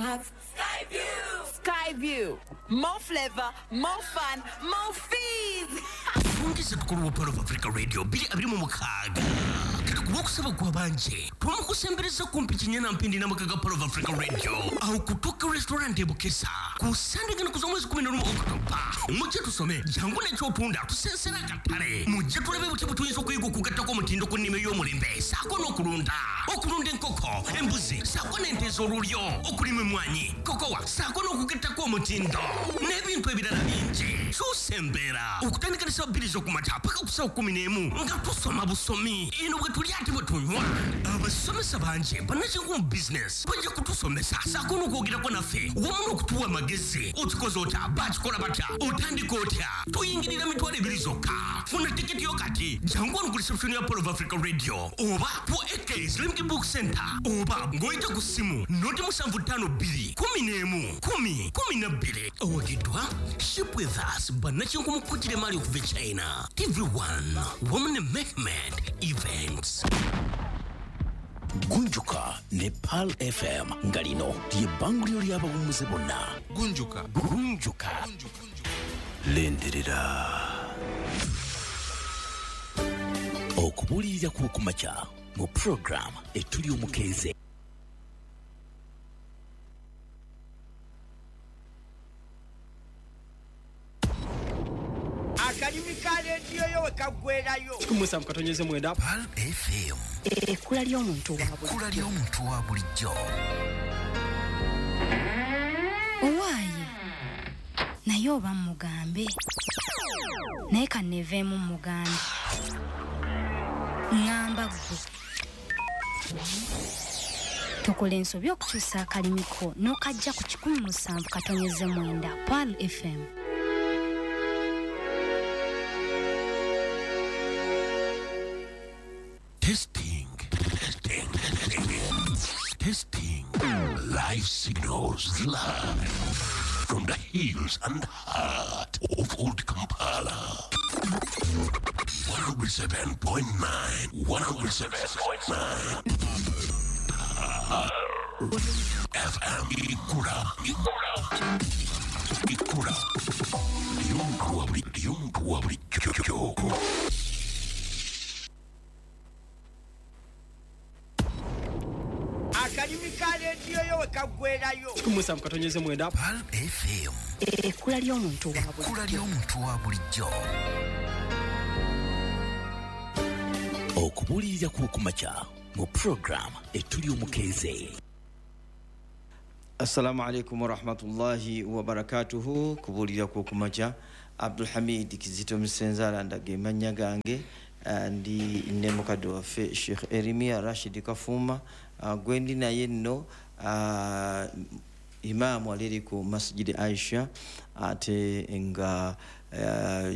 have Skyview. Skyview. More flavor, more fun, more fees. Fungisa tukulu Pearl of Africa Radio 2026. Kuba okusaba kwabanje twamukusembereza kumpi kinyana mpindi n'amakaga Pearl of Africa Radio aho kutoka restaurant ebukesa ku Sande gano kuza mwezi 11 Oktoba. Mujje tusome jangu n'ekyotunda tusensera akatale, mujje tulabe buti butuyinza okuyiga okugattako omutindo ku nnima ey'omulembe saako n'okulunda okulunda enkoko, embuzi saako n'ente ez'olulyo, okulima emmwanyi, kokowa saako n'okugattako omutindo n'ebintu ebirala bingi. Kyusa embeera okutandika ne ssaawa 2 z'okumakya paka ku ssaawa 11 nga tusoma busomi eno bwe tulya ate bwe tunywa. Abasomesa bangi bannakinku mu bizinesi bajja kutusomesa saako n'okwogerako naffe wamu n'okutuwa amagezi. Okikoze otya? Bakikola batya? Otandika otya? Tuyingirira 20,000 zokka. Funa tiketi yo kati jangu wano ku reception ya Pearl of Africa Radio oba ku AK Islamic Book Center oba ng'oyita ku ssimu 075 2 11 10 12. Owagiddwa Ship With Us bannakinku mu kukutira emaali okuva e China, TV1 wamu ne Mehmed Events. Gunjuka ne Pearl FM nga lino ly'ebbanguliro ly'abawummuze bonna. Gunjuka. Gunjuka. Lindirira. Okubuulirira kw'okumakya mu program etuli omukenze. Akalimi ka rediyo yo we kaggwerayo. 17.9 Pearl FM. Ekkula ly'omuntu wa bulijjo. Ekkula ly'omuntu wa bulijjo. Owaaye naye oba mugambe naye kanneeveemu mugambe ŋŋamba ggwe tokola ensobi okukyusa akalimiko n'okajja ku 17.9 Pearl FM. Testing, testing, testing. Life signals live from the hills and heart of Old Kampala. 107.9, 107.9. FM Ikura, Ikura, Ikura. Ly'omuntu wa bulijjo. Akalimi ka rediyo yo we kaggwerayo. 17.9 Pearl FM. Ekkula ly'omuntu wa bulijjo. Ekkula ly'omuntu wa bulijjo. Okubuulirira kw'okumakya mu program etuli omukenze. Assalamu alaikum warahmatullahi wabarakatuhu. Kubuulira kw'okumakya, Abdulhamid Kizito Musenzala ndaga emannya gange, ndi ne mukadde waffe Sheikh Eremia Rashid Kafuma, gwendi naye nno imaamu aliri ku Masjid Aisha ate nga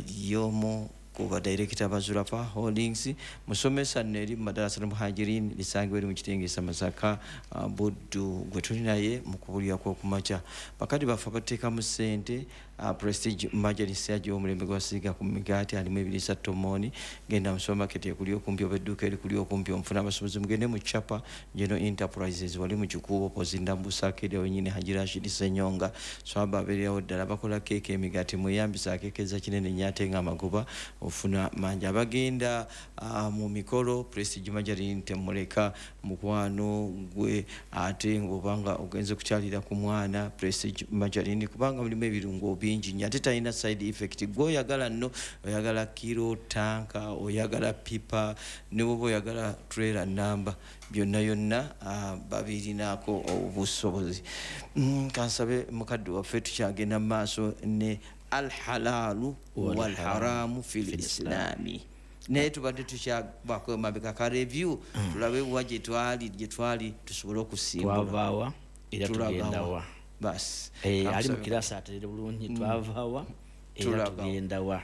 y'omu ku badirekita ba Zurafa Holdings, musomesa nno eri mu madarasa al-Muhajirin lisangibwa eri mu Kitengesa Masaka, Buddu, gwe tuli naye mu kubuulira kw'okumakya. Bakadde baffe abateekamu ssente, Prestige Margarine yagiwa omulembe gw'abasiiga ku migaati alimu ebiriisa tomooni. Genda mu supermarket ekuli okumpi oba edduuka erikuli okumpi omufuna abasuubuzi, mugende mu Chapa General Enterprises wali mu Kikuubo Pozinda Mbusakere wenyini Haji Rashid Ssenyonga swaba abeererawo ddala, bakola keeke emigaati, mweyambisa akeekeza kinene nnyo ate nga amagoba ofuna mangi. Abagenda mu mikolo Prestige Margarine temuleka mukwano gwe, ate ng'obanga ogenze kukyalira ku mwana Prestige Margarine kubanga mulimu ebirungo bingi nnyo ate talina side effect. Gwe oyagala nno oyagala kiro tanka, oyagala pipa, ne bw'oba oyagala trailer namba, byonna yonna babirinaako obusobozi. Kansabe mukadde waffe tukyagenda mu maaso ne alhalalu walharamu fil islami, naye tubadde tukyabako emabega ka review tulabe wa gye twali tusobole okusimbula. Twavaawa era tugendawa. Basi ali mu kirasa aterere bulungi. Twavaawa era tugendawa.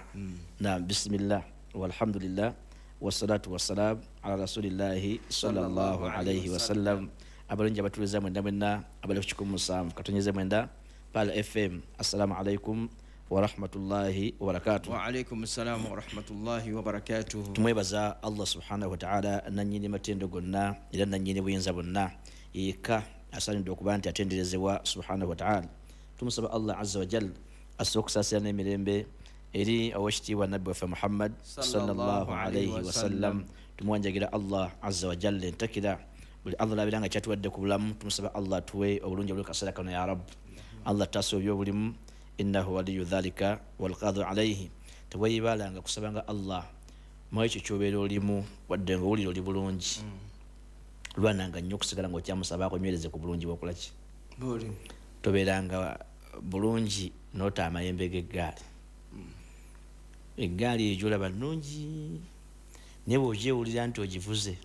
Na bismillah walhamdulillah wassalatu wassalam ala rasulillahi sallallahu alayhi wasallam. Abalungi abatuliza mwenda mwenna abali ku 17.9 Pearl FM, assalamu alaikum warahmatullahi wabarakatuh. Wa alaikum assalam warahmatullahi wabarakatuh. Tumwebaza Allah subhanahu wa ta'ala nannyini matendo gonna era nannyini buyinza bonna yekka Asaanidde okuba nti atenderezebwa subhanahu wataala. Tumusaba Allah azza wajal asse okusaasira n'emirembe eri owekitiibwa nabbi waffe Muhammad sallallahu alaihi wasallam. Tumuwanjagira Allah azza wajalla entakira buli Allah labira nga kyatuwadde ku bulamu. Tumusaba Allah tuwe obulungi obuli kaseera kano ya Rabb. Allah taasa obyobulimu, innahu waliyu dhalika walqadhu alaihi. Teweeyibalanga kusabanga Allah mu ekyo ky'obeera olimu, wadde nga owulira oli bulungi, lwananga nnyo okusigala ng'okyamusaba akunywereze ku bulungi bw'okola ki. Tobeeranga bulungi n'ota amayembe g'eggaali. Eggaali eyo gy'olaba nnungi, naye bw'ogyewulira nti ogivuze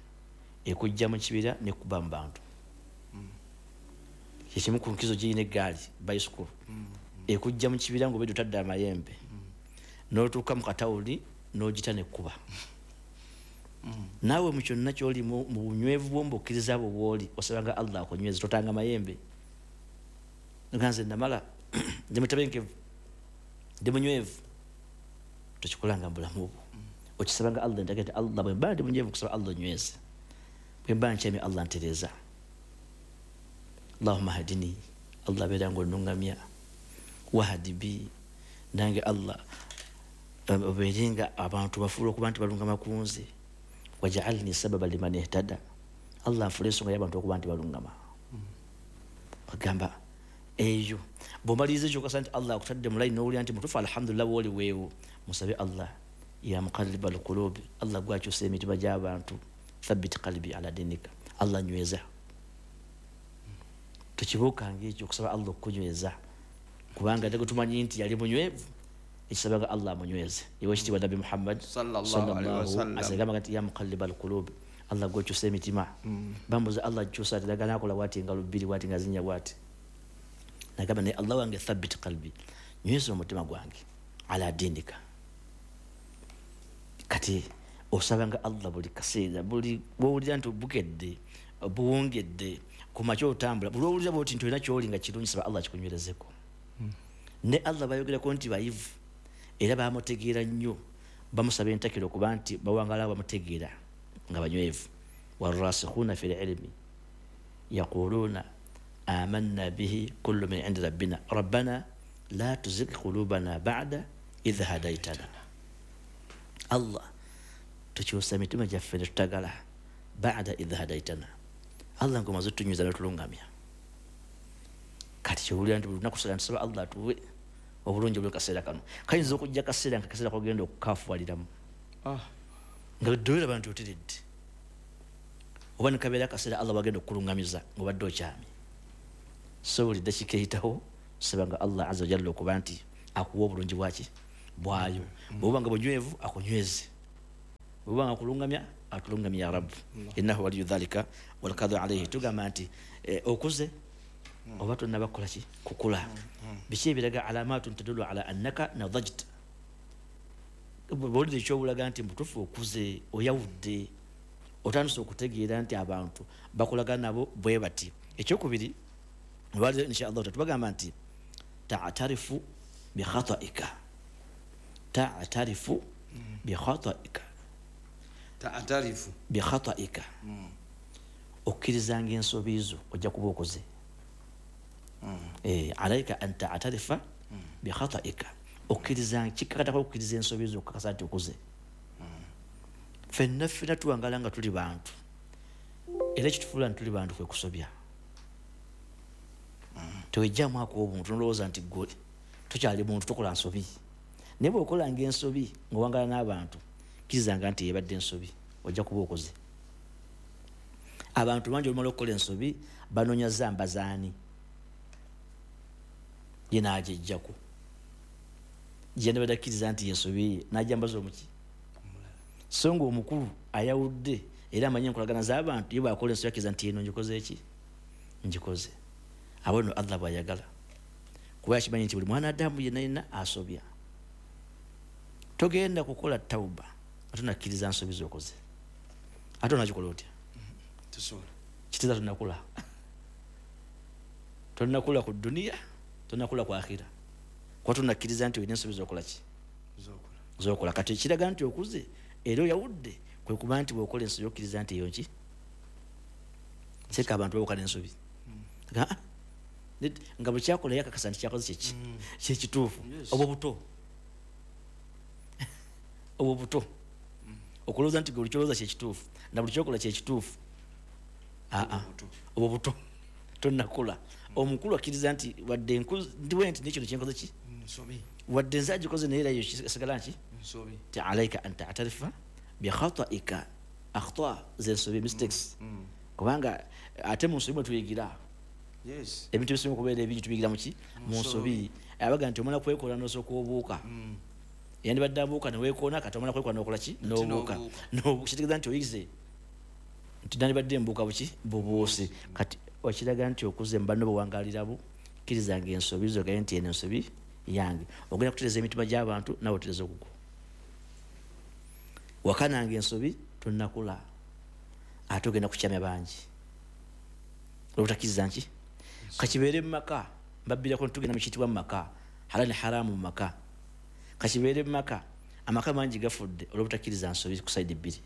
ekujja mu kibira nekuba mu bantu. Kyekimu ku nkizo girina eggaali bicycle, ekujja mu kibira ng'obedde otadde amayembe, n'otuuka mu katawuli n'ogita nekkuba. Naawe mu kyonna ky'oli mu bunywevu bwo, mu bukkiriza bwo bw'oli, osabanga Allah akunyweze, totanga mayembe. Nga nze namala ndi mutebenkevu, ndi munywevu, tokikolanga mu bulamu bwo. Okisabanga Allah entakira nti Allah bwe mba ndi munywevu nkusaba Allah onyweze, bwe mba nkyamye Allah ntereeza. Allahumma hadini, Allah beera ng'onnungamya, wahadi bi, nange Allah obeere nga abantu bafuula okuba nti balungama ku nze, wajaalni sababa liman ihtada, Allah nfuula ensonga y'abantu okuba nti balungama. Agamba eyo bw'omaliriza ekyo okasa nti Allah akutadde mu layini n'owulira nti mutuufu, alhamdulillah bw'oli weewo, musabe Allah ya muqalliba alqulubi, Allah gwakyusa emitima gy'abantu, thabbit qalbi ala dinika, Allah nyweza. Tokibuukanga ekyo okusaba Allah okukunyweza, kubanga ate tumanyi nti yali munywevu, ekisabaga Allah amunyweze. Iwe ekitiibwa nabbi Muhammad sallallahu alaihi wasallam asagamba nti ya muqalliba alqulubi, Allah gwakyusa emitima. Bambuza Allah akyusa ati dagala akola bwati engalo bbiri bwati nga zinnya bwati. Nagamba naye Allah wange thabbit qalbi, nyweza omutima gwange ala dinika. Kati osabanga Allah buli kaseera, buli bw'owulira nti bukedde buwongedde ku makya otambula, buli lw'owulira bw'oti nti olina ky'oli nga kirungi, saba Allah akikunywerezeko. Ne Allah bayogerako nti bayivu era bamutegeera nnyo, bamusaba entakiro okuba nti bawangala bamutegeera nga banywevu. Warasikhuna fil ilmi yaquluna amanna bihi kullu min indi rabbina rabbana la tuzigh qulubana ba'da idh hadaytana. Allah tukyusa emitima gyaffe ne tutagala ba'da idh hadaytana, Allah ng'omaze otunywiza n'otulungamya. Kati kyowulira nti buli lunaku sala ntusaba Allah atuwe obulungi obuli kaseera kano. Kayinza okujja kaseera nga kaseera kogenda okukafuwaliramu, nga ddolera nti oteredde, oba ne kabeera akaseera Allah wagenda okukulungamiza ng'obadde okyamye. So buli ddakiika eyitawo tusabanga Allah azza wajalla okuba nti akuwa obulungi bwaki bwayo. Bw'oba nga bunywevu akunyweze, bw'oba nga akulungamya atulungamya ya Rabb, innahu waliyu dhalika walqadru alayhi. Tugamba nti okuze oba tonnaba kukola ki kukula. Biki ebiraga alamatun tadullu ala annaka nadajta, bw'owulira ekyobulaga nti mutuufu okuze, oyawudde, otandise okutegeera nti abantu bakolagana nabo bwe bati. Ekyokubiri olwaleero insha Allah tubagamba nti ta'tarifu bikhataika, ta'tarifu bikhataika, ta'tarifu bikhataika, okkirizanga ensobi zo ojja kuba okoze. Alaika an ta'tarifa bikhataika, okkirizanga kikakatako okukkiriza ensobi zo okukakasa nti okoze. Ffenna ffenna tuwangala nga tuli bantu, era ekitufuula nti tuli bantu kwe kusobya. Tewejjamu ako obuntu nolowooza nti ggwe tokyali muntu tokola nsobi, naye bw'okolanga ensobi ng'owangala n'abantu, kkirizanga nti yebadde ensobi ojja kuba okoze. Abantu bangi olumala okukola ensobi banoonya zamba zaani, ye n'agyejjako, ye nabadde akkiriza nti ensobi ye n'agyambaza omuki. So ng'omukulu ayawudde era amanyi enkolagana z'abantu, ye bw'akola ensobi akkiriza nti eno ngikoze ki, ngikoze. Abo nno Allah bw'ayagala, kuba yakimanyi nti buli mwana Adamu yenna yenna asobya. Togenda kukola tawuba ate onakkiriza nsobi z'okoze, ate onakikola otya? Tosobola. Kitegeeza tonnakula, tonnakula ku duniya, tonnakula ku akhira, kuba tonakkiriza nti olina ensobi z'okola ki z'okola. Kati ekiraga nti okuze era oyawudde kwe kuba nti bw'okola ensobi okkiriza nti eyo nki. Seeka abantu bawukana ensobi. Nga buli kyakola yakakasa nti kyakoze kyeki kyekituufu. Obwo buto, obwo buto, okulowooza nti buli kyolowooza kyekituufu na buli kyokola kyekituufu. Aa, obwo buto, tonnakula. Omukulu akkiriza nti wadde ndiwe nti nekino kyenkoze ki wadde nze agikoze, naye era yo sigala nki ti alaika an tatarifa bikhataika, akhta zensobi, mistakes, kubanga ate mu nsobi mwe tuyigira. Ebintu ebisinga okubeera ebingi tubigira muki? Mu nsobi. Abaga nti omala kwekola nosooka obuuka, yandibadde abuuka neweekoona, kati omala kwekola nokola ki? Nobuuka. Kitegeeza nti oyize nti nandibadde mbuuka buki bubuusi. Kati okiraga nti okuze mubanno bwewangalirabu, kkirizanga ensobi zogaye nti eno ensobi yange. Ogenda kutereza emitima gy'abantu, nawe otereza ogugwo. Wakananga ensobi, tonnakula, ate ogenda kukyamya bangi olwobutakkiriza nki kakibeere mu maka. Mbabbirako tugenda mukiyitibwa mu maka, halal ne haramu mu maka. Kakibeere mu maka, amaka mangi gafudde olwobutakkiriza nsobi ku side bbiri,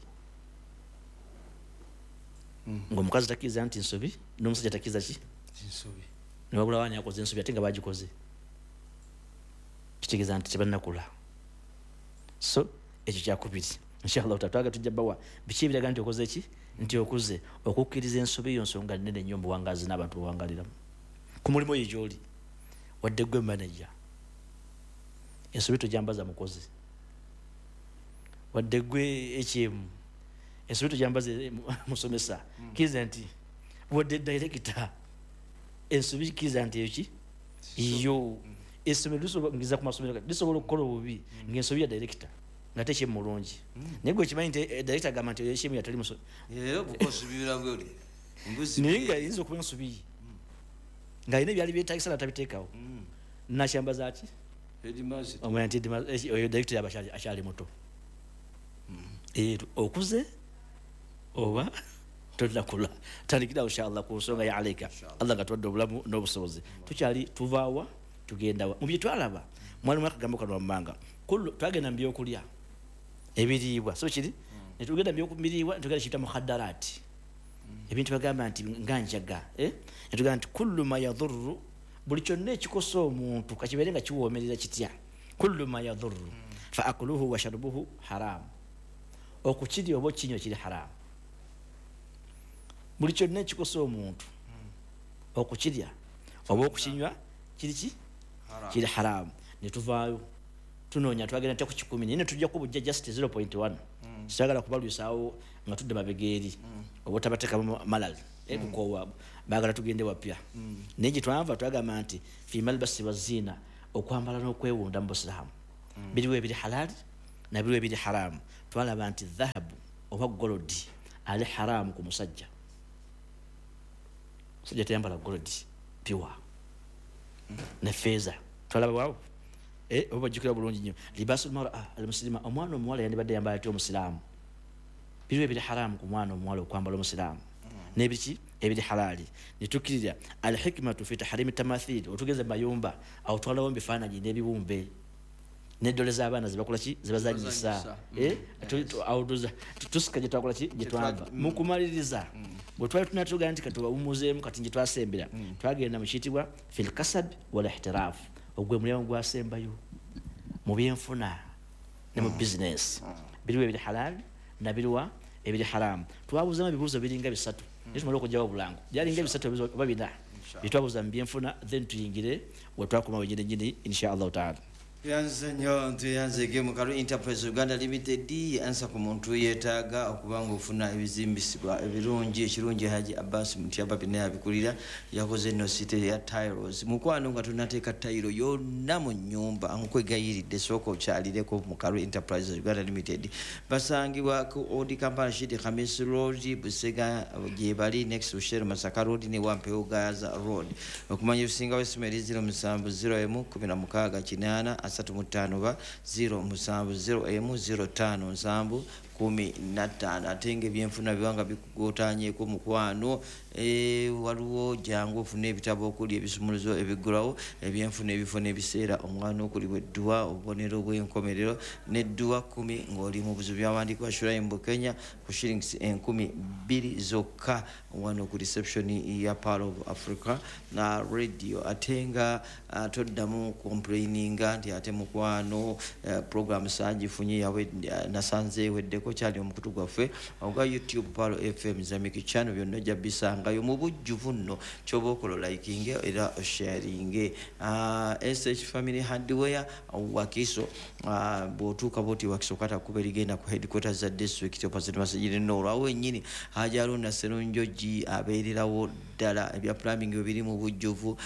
ngaomukazi takkiriza nti nsobi n'omusajja takkiriza ki newabulawo ani akoze ensobi ate nga bagikoze. Kitegeeza nti tebannakula. So ekyo kyakubiri. Inshallah tatwaga tujja bawa biki ebiraga nti okoze ki, nti okuze. Okukkiriza ensobi yo nsonga nnene nnyo mu buwangaazi n'abantu bawangaliramu. Ku mulimu oyo gy'oli, wadde gwe manager, ensobi tojambaza mukozi. Wadde gwe ekyemu, ensobi tojambaza musomesa. Kkiriza nti wadde director, ensobi kkiriza nti eyo ki yo. Essomero lisobola ku masomero lisobola okukola obubi ng'ensobi ya director nga tekyemu mulungi, naye gwe okimanyi nti director agamba nti ekyemu yatali muso, naye nga yinza okuba ensobi ye ng'alina ebyali byetagisa natabiteekawo, nakyambaza ki omanya nti oyo director yaba akyali muto. Okuze oba tonnakula, tandikirawo inshallah ku nsonga ya alaika. Allah nga tuwadde obulamu n'obusobozi, tukyali tuvaawa tugendawa. Mu bye twalaba mwalimu akagambo kano wammanga, twagenda mu byokulya ebiriibwa, so kiri netugenda mu biriibwa, netugenda kiyita mukhadaraati, ebintu bagamba nti nga njaga, netugamba nti kullu ma yadhurru, buli kyonna ekikosa omuntu kakibeere nga kiwoomerera kitya, kullu ma yadhurru fa akluhu wa sharubuhu haramu, okukirya oba okinywa kiri haramu. Buli kyonna ekikosa omuntu okukirya oba okukinywa kiri ki? Kiri haramu. Netuvaayo tunoonya, twagenda ntya ku 10, naye netujjako bujja just 0.1. Sitagala kubalwisaawo nga tudde mabega eri oba otabateekamu malal kukoowa, baagala tugende wapya. Naye gye twava twagamba nti fi malbasi waziina, okwambala n'okwewunda mu busiraamu, biriwo ebiri halali nabiriwo ebiri haramu. Twalaba nti dhahabu oba golodi ali haramu ku musajja. Musajja tayambala golodi pure ne feeza. Twalaba waawo, oba bajjukira bulungi nnyo, libasul mara almuslima, omwana omuwala yandibadde yambala atya omusiraamu? Biriwo ebiri haramu ku mwana omuwala okwambala omusiraamu nebiki ebiri halali. Netukkirira alhikmatu fi tahrimi tamathil, otugeze mayumba awo twalawo ebifaananyi n'ebibumbe n'eddole z'abaana zebakola ki, zebazanyisa. Tusika gye twakola ki, gye twava. Mu kumaliriza bwe twali tunatugaa nti katubawumuzeemu, kati gye twasembera twagenda mu kiyitibwa fil kasab wal ihtiraf, ogwe mulyango gwasembayo mu byenfuna ne mu bizinesi, biriwo ebiri halali nabiriwa ebiri haramu. Twabuuzamu ebibuuzo biringa bisatu, naye tumale okugyawo obulango, byalinga bisatu oba bina byetwabuuza mu byenfuna, then tuyingire wetwakoma wenyini nyini insha allahu taala. Tuyanze nnyo, tuyanzege. Mukalu Enterprise Uganda Limited ansa ku muntu yeetaaga okuba nga ofuna ebizimbisibwa ebirungi. Ekirungi Haji Abbas Mutyaba bina yabikulira, yakoze eno site ya tiles. Mukwano, nga tonateeka tayiro yonna mu nnyumba, nkwegayiridde sooka okyalireko Mukalu Enterprise Uganda Limited. Basangibwa ku Old Kampala Shidi Khamis Road, Busega gyebali next to Shell, Masaka Road ne Wampewo Gaza Road. Okumanya ebisingawo, esimu eri 07 01 16 8 35 oba 07 01 05 7 15. Ate nga ebyenfuna biba nga bikugotanyeko, mukwano, Waliwo jangu ofune ebitabo okuli ebisumuluzo ebiggulawo ebyenfuna, ebifo n'ebiseera omwana okulibwa edduwa, obubonero bw'enkomerero n'edduwa 10 ng'oli mu buzibu, byawandiikibwa Shuraim Bukenya ku shillings 2000 zokka wano ku reception ya Pearl of Africa na radio. Ate nga toddamu complaininga nti ate mukwano program saagifunye yawe nasanze eweddeko. Kyali omukutu gwaffe ogwa YouTube Pearl FM Islamic Channel, byonna ojja bisangayo mu bujjuvu. Nno kyoba okola, likinge era sharinge. SH Family Hardware Wakiso, bw'otuuka bwoti Wakiso kata kuba erigenda ku headquarters za district opposite Masjid Noor, awo wennyini Haji Haruna Serunjogi abeererawo ddala. Ebya plumbing bwe biri mu bujjuvu,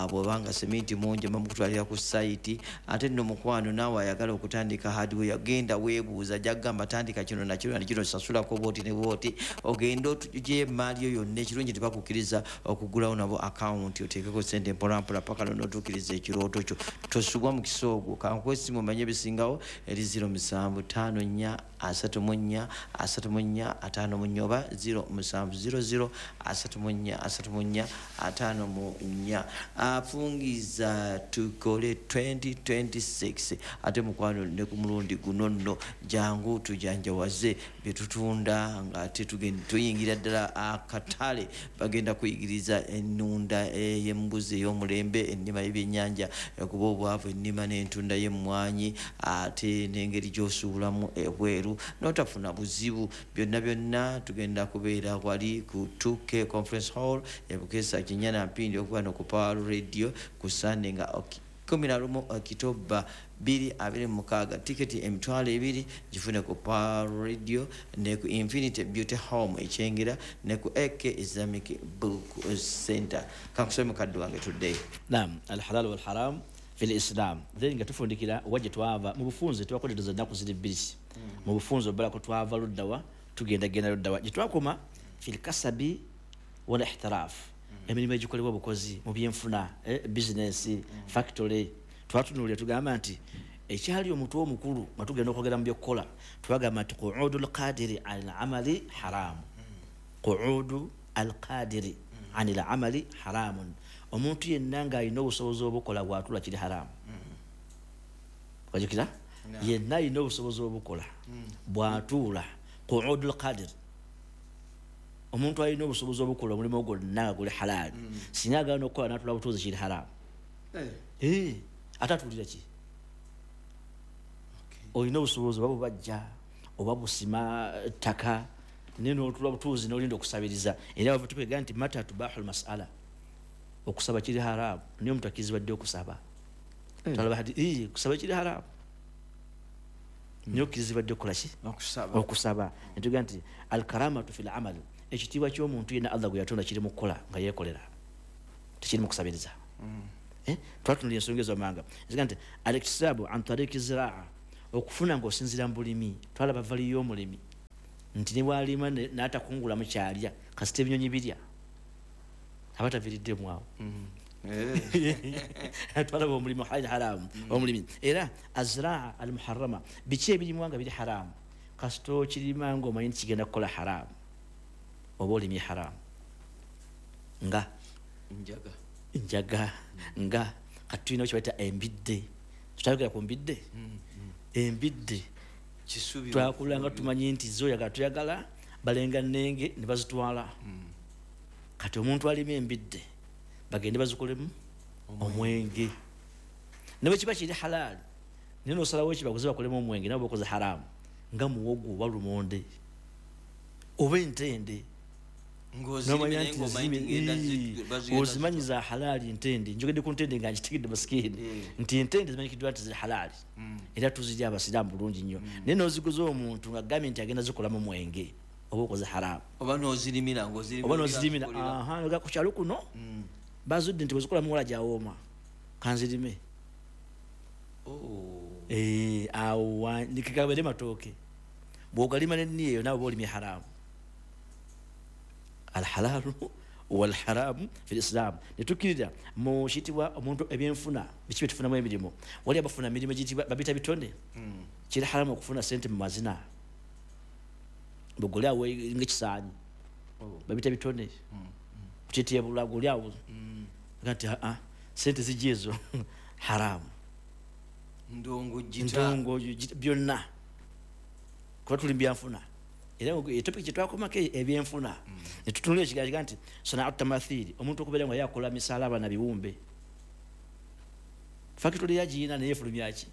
bw'obanga seminti mungi bamukutwalira ku site. Ate nno mukwano naawe ayagala okutandika hardware, genda weebuuza, jagamba tandika kino nakino nakino, sasulako bwoti ne bwoti, ogende otugye emaali yo yonna. Ekirungi tebakukkiriza okugulawo nabo akawunti, oteekeko sente mpolampola paka lw'onootuukiriza ekirooto kyo. Tosubwa mukisa ogwo. Kankuwa essimu omanye ebisingawo eri 0754 34 34 54 oba 0700 34 34 54. Afungiza tukole 2026. Ate mukwano ne ku mulundi guno nno jangu tujanjawaze byetutunda nga ate tuyingira ddala akatale. Bagenda kuyigiriza ennunda ey'embuzi ey'omulembe, ennima y'ebyennyanja ekuba obwavu, ennima n'entunda y'emmwanyi, ate n'engeri gy'osuubulamu ebweru n'otafuna buzibu. Byonna byonna tugenda kubeera wali ku 2K Conference Hall ebukesa Kinyana Mpindi, okuba no ku Power Radio ku Sunday nga 11 Okitoba 2026. Tiketi 20,000 gifune ku Power Radio ne ku Infinity Beauty Home Ekyengera ne ku AK Islamic Book Center. Kankusome mukadde wange tuddeyo. Naam, alhalal walharam fi lislam. Then nga tufundikira wajje twava mu bufunze, twakolereza ennaku ziri bbiri mu bufunze obalako. Twava luddawa, tugenda genda luddawa gye twakoma? Fi lkasabi wal ihtiraf, emirimu egikolebwa obukozi mu byenfuna, business, factory. Twatunuulira tugamba nti ekyali omutwe omukulu nga tugenda okwogera mu byokukola, twagamba nti qu'udu lqadiri ani lamali haramu, qu'udu alqadiri ani lamali haramun. Omuntu yenna ng'alina obusobozi obukola bwatula kiri haramu. Wajukira yenna alina obusobozi obukola bwatuula, qu'udu lqadir, omuntu alina obusobozi obukola omulimu gwonna nga guli halaali, singa agaana okukola n'atula butuuzi kiri haramu. Ate atuulira ki? Olina obusobozi oba bubajja oba busima ttaka, naye n'otula butuuzi n'olinda okusabiriza. Era bava tukwega nti mata tubahu lmasala, okusaba kiri haramu, naye omuntu akkirizibwa ddi okusaba? Twalaba hadi kusaba kiri haramu, naye okkirizibwa ddi okukola ki? Okusaba. Netugaa nti alkaramatu fi lamal, ekitiibwa ky'omuntu yenna Allah gwe yatonda kiri mu kukola nga yeekolera, tekiri mu kusabiriza. Twatunulira ensonga ezo manga nziga nti aliktisabu an tariki ziraa, okufuna ng'osinziira mu bulimi. Twalaba valiyo y'omulimi nti ne bwalima n'atakungulamu kyalya, kasita ebinyonyi birya aba taviiriddemu awo. Twalaba omulimu hali haramu omulimi. Era azraa almuharrama, biki ebirimwa nga biri haramu? Kasita okirima ng'omanyi nti kigenda kukola haramu, oba olimye haramu. Nga njaga, nga kati tulina kyebayita embidde. Tutayogera ku mbidde. Embidde twakula nga tumanyi nti zoyagala tuyagala balenga nenge ne bazitwala. Kati omuntu alima embidde bagende bazikolemu omwenge, ne bwe kiba kiri halaali, naye nosalawo ekibaguzi bakolemu omwenge, nabo bakoze haramu. Nga muwogo oba lumonde oba entende, nomanya nti ozimanyi za halaali. Ntende, njogedde ku ntende nga nkitegedde masikini nti entende zimanyikiddwa nti ziri halaali, era tuzirya abasiraamu bulungi nnyo, naye noziguza omuntu nga agambye nti agenda zikolamu mwenge, oba okoze haramu. Oba nozirimira. Oba nozirimira ku kyalo kuno bazudde nti bwezikolamu wala gyawooma, kanzirime. Awo nikikabere matooke bw'ogalima nenniya eyo, naawe oba olimye haramu. Alhalalu walharamu fi lislam. Netukkirira mu kitibwa omuntu ebyenfuna, biki byetufunamu emirimu. Wali abafuna emirimu egiyitibwa babita bitone. Kiri haramu okufuna sente mu mazina, bwegoli awo ngaekisaanyi. Babita bitone. Kuchetia bulago lyawo. Nti a sente zijezo haramu. Ndongo jita. Ndongo jita byonna. Kuba tuli byanfuna. Era topic kyetwakomako ebyenfuna. Ne tutunula ekigambo nti sana'atu tamathili, omuntu okubeera nga yakola misalaba na biwumbe. Factory yagiina naye efulumya ki?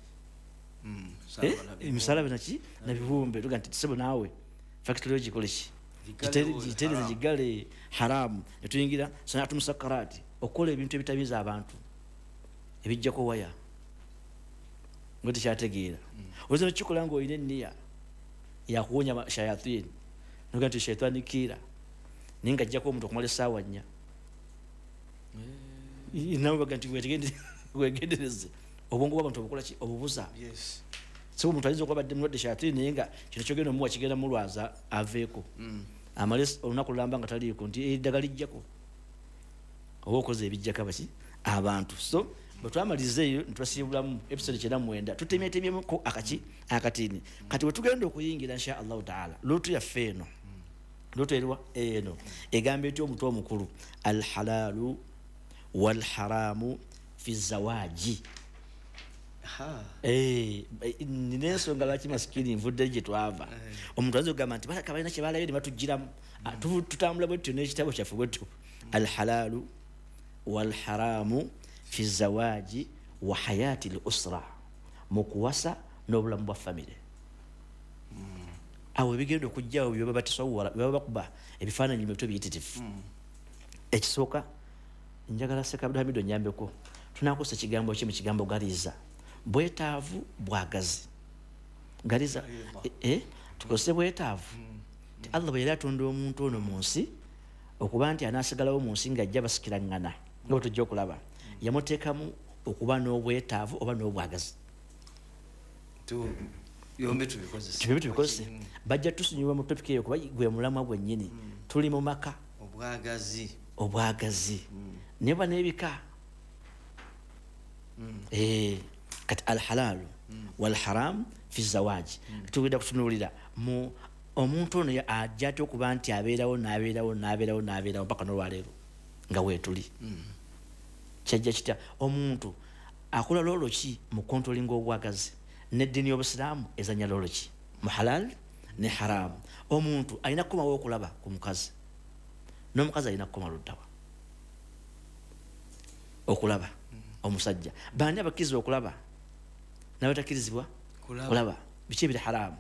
Misalaba naki na biwumbe. Tuga nti sebo naawe factory ogikole ki? Gitereze gigale haramu. Ne tuyingira sana'atu musakkarati, okukola ebintu ebitamiiza abantu ebijjako waya nga tekyategeera. Oyinza n'okukikola ng'olina enniya yakuwonya shayatini, noga nti shaitani kiira, naye nga ajjako omuntu okumala essaawa 4. Nawe baga nti weegendereze obwongo bw'abantu obukola ki? Obubuza. So omuntu ayinza okuba badde mulwadde shayatini, naye nga kino kyogenda omuwa kigenda mulwaza aveeko, amale olunaku lulamba nga taliiko, nti eddagala lijjako oba okoze ebijjako abaki abantu. So bwe twamaliriza eyo ne tubasiibulamu episode 99, tutemyetemyemuko akaki akatini. Kati bwe tugenda okuyingira insha Allahu taala luutu yaffe eno, luutu eriwa eno egamba etya omutwe omukulu? Alhalalu walharamu fi zawaji. Nina ensonga lwaki masikini nvudde gye twava. Omuntu ayinza okugamba nti balaka balina kye balabye ne batugiramu. Tutambula bwe tutyo n'ekitabo kyaffe bwe tutyo. Alhalalu walharamu fi zawaji wa hayati al-usra, mu kuwasa n'obulamu bwa famire. Awo ebigenda okujjawo bye baba batasawwala, bye baba bakuba ebifaananyi mu bitwe biyitirivu. Ekisooka njagala Sheikh Abdulhamid onyambeko, tunakosa ekigambo ki mu kigambo galiza? Bwetaavu bwagazi. Galiza tukozese bwetaavu. Allah bwe yali atonda omuntu ono mu nsi, okuba nti anaasigalawo mu nsi ng'ajja basikiraŋŋana nga bwe tujja okulaba, yamuteekamu okuba n'obwetaavu oba n'obwagazi. Byombi tubikozese. Byombi tubikozese. Bajja tusunyiwa mu topic eyo kuba gwe mulamwa gwennyini. Tuli mu maka. Obwagazi. Obwagazi. Naye ba n'ebika. Kati alhalalu walharam fi zawaji. Tugenda kutunuulira mu omuntu ono ajja atya okuba nti abeerawo n'abeerawo n'abeerawo n'abeerawo mpaka n'olwaleero nga weetuli. Kyajja kitya omuntu akola loolo ki mu controlling obwagazi? N'eddiini y'obusiraamu ezannya loolo ki mu halal ne haramu? Omuntu alina kukomawo okulaba ku mukazi, n'omukazi alina kukoma luddawa okulaba omusajja. Baani abakkirizibwa okulaba n'abatakkirizibwa kulaba? Biki ebiri haramu?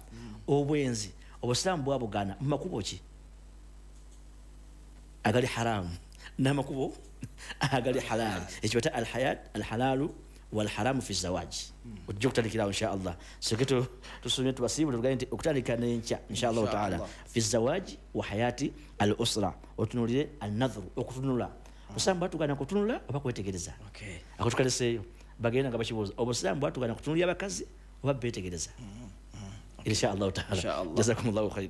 Obwenzi obusiraamu bwabugaana mu makubo ki agali haramu n'amakubo agali halali? Ekyo bata alhayat alhalalu walharamu fi zawaji. Ojja okutandikirawo insha Allah. Soke tusomye tubasiibule tugambe nti okutandika n'enkya insha Allahu taala fi zawaji wa hayati al usra. Otunuulire an-nadhru, okutunula. Obusiraamu bwatugaana kutunula oba kwetegereza? Ako tukaleseeyo bagenda nga bakibuuza, obusiraamu bwatugaana kutunulira abakazi oba beetegereza? Insha Allah taala. Jazakumullahu khair.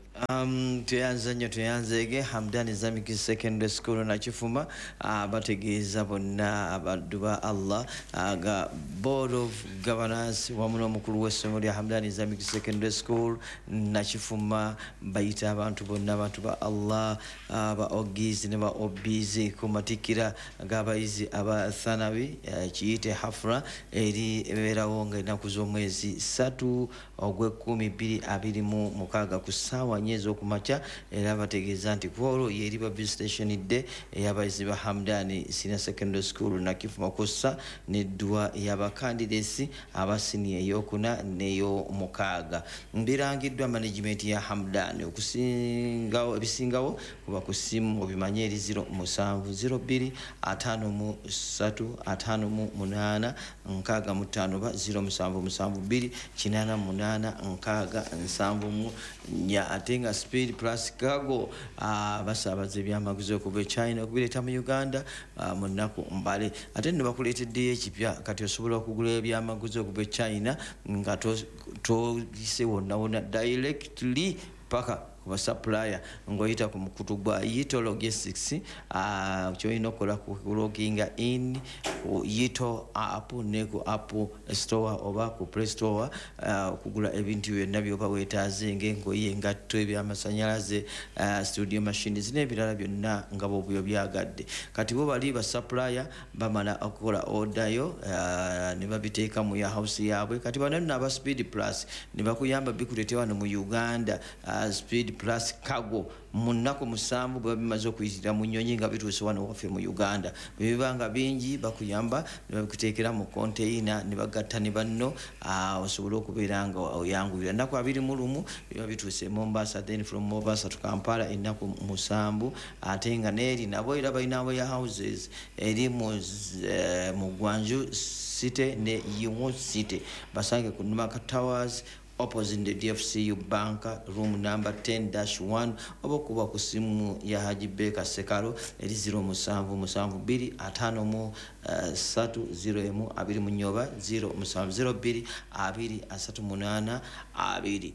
Tweyanza nnyo, tweyanzeege Hamdan Islamic Secondary School Nakifuma bategeeza bonna abaddu ba Allah ga Board of Governors wamu n'omukulu w'essomero lya Hamdan Islamic Secondary School Nakifuma bayita abantu bonna abantu ba Allah, ba OGs ne ba OBs ku matikkira g'abayizi aba Thanawi kiyite hafra eri ebeerawo nga ennaku z'omwezi 3 ogw'ekumi 2026 ku ssaawa 4 ez'okumakya. Era bategeeza nti ku olwo yeriba visitation day ey'abayizi ba Hamdani Senior Secondary School Nakifuma kw'ossa n'edduwa y'abakandideesi aba siniya ey'okuna n'ey'omukaaga. Birangiddwa management ya Hamdani. Okusingawo ebisingawo kuba ku ssimu obimanye eri 07 02 53 58 65 oba 0772 88 6 74. Ate nga Speed Plus Cargo basaabaza ebyamaguzi okuva e China okubireeta mu Uganda mu nnaku mbale. Ate nno bakuleeteddeyo ekipya, kati osobola okugula ebyamaguzi okuva e China nga toyise wonna wonna, directly paka kuba supplier ng'oyita ku mukutu gwa Yito Logistics. Kyolina okukola kuloginga in Ku Yito app ne ku Apple Store oba ku Play Store, okugula ebintu byonna byoba weetaaze, ng'engoye, engatto, ebyamasanyalaze, studio machines n'ebirala byonna nga bw'oba obyagadde. Kati bo bali ba supplier, bamala okukola order yo ne babiteeka mu warehouse yaabwe. Kati bano nno aba Speed Plus ne bakuyamba bikuleete wano mu Uganda, Speed Plus Cargo, mu nnaku 7 bwe bimaze okuyitira mu nnyonyi nga bituuse wano waffe mu Uganda. Bwe biba nga bingi, bakuyamba ne babikuteekera mu konteyina ne bagatta ne banno, osobole okubeera nga oyanguyira. Ennaku 21 biba bituuse e Mombasa, then from Mombasa to Kampala ennaku 7. Ate nga neeri nabo era balina warehouses eri mu Guangzhou City ne Yiwu City. Basange ku Numaka Towers, opposite the DFCU Bank, room number 10-1, oba okuba ku simu ya Haji Beka Sekalo eri 0772 53 01 24 oba 0702 2 38 2.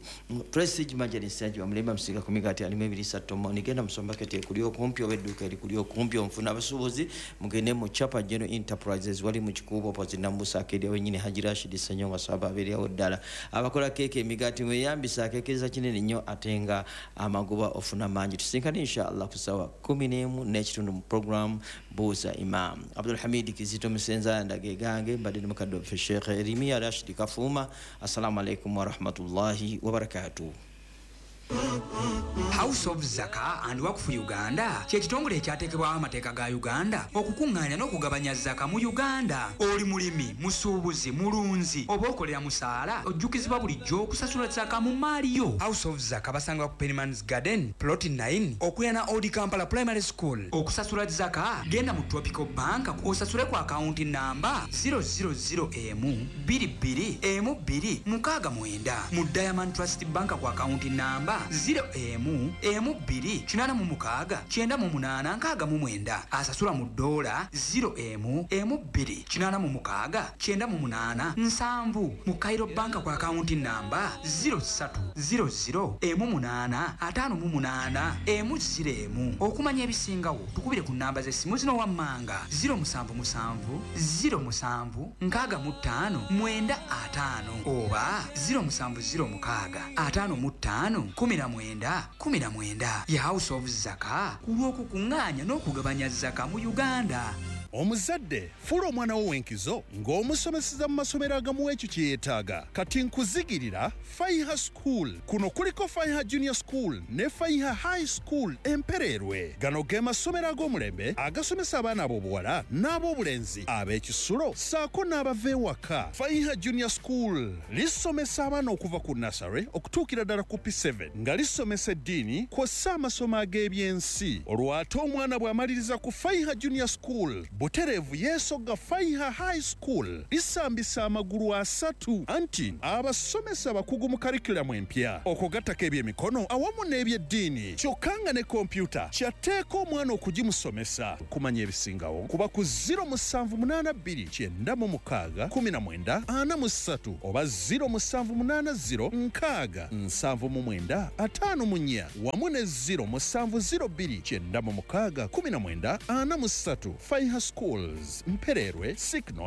Prestige Margarine Stage bamulemba musiga ku migaati alimu ebiriisa tomoni. Genda mu supermarket ekuli okumpi oba edduuka erikuli okumpi onfuna. Abasuubuzi mugende mu Chapa General Enterprises, wali mu Kikuubo, opposite Nambusa Arcade, wenyini Haji Rashid Senyonga Swaba abeerawo ddala. Abakola keeke, emigaati, mweyambisa akeekeza kinene nnyo ate nga amagoba ofuna mangi. Tusinkane inshallah ku ssaawa 11:30 mu program Buuza Imam. Abdulhamid Kizito Musenza ndage gange, mbadde ne mukadde waffe Sheikh Erimiya Rashid Kafuuma. Assalamu alaikum warahmatullahi wabarakatuh. House of Zaka and Wakfu Uganda kyekitongole ekyateekebwawo amateeka ga Uganda okukuŋŋaanya n'okugabanya zaka mu Uganda. Oli mulimi, musuubuzi, mulunzi oba okolera musaala, ojjukizibwa bulijjo okusasula zaka mu maali yo. House of Zaka basangibwa ku Penmans Garden, plot 9, okuliraana Old Kampala Primary School. Okusasula zaka, genda mu Tropical Bank osasule ku akawunti namba 000 m 22 m 2 69, mu Diamond Trust Bank ku akawunti namba 0 m m 2 86 98 69. Asasula mu dola, 0 m m 2 86 98 7, mu Cairo Bank ku akawunti namba 03 00 m 8 58 m 0 m. Okumanya ebisingawo, tukubire ku namba z'essimu zino wammanga: 077 07 65 95 oba 0706 55 19 19. Ye House of Zaka ku lw'okukuŋŋaanya n'okugabanya zaka mu Uganda. Omuzadde, fuula omwana wo w'enkizo ng'omusomeseza mu masomero agamuwa ekyo kye yeetaaga. Kati nkuzigirira Faiha School. Kuno kuliko Faiha Junior School ne Faiha High School Empereerwe. Gano ge masomero ag'omulembe agasomesa abaana ab'obuwala n'ab'obulenzi ab'ekisulo ssaako n'abava ewaka. Faiha Junior School lisomesa abaana okuva ku nursery okutuukira ddala ku P7, nga lisomesa eddiini kw'ossa amasomo ag'ebyensi. Olwo ate omwana bw'amaliriza ku Faiha Junior School, butereevu yeesogga Faiha High School. Lisambisa amagulu asatu, anti abasomesa bakugu mu curriculum empya, okugattako ebyemikono awamu n'ebyeddiini, kyokka nga ne kompyuta kyatteeka omwana okugimusomesa. Kumanya ebisingawo, kuba ku 0782 96 19 43 oba 0780 6 79 54 wamu ne 0702 96 19 43. Faiha Schools, Mpererwe. Signal.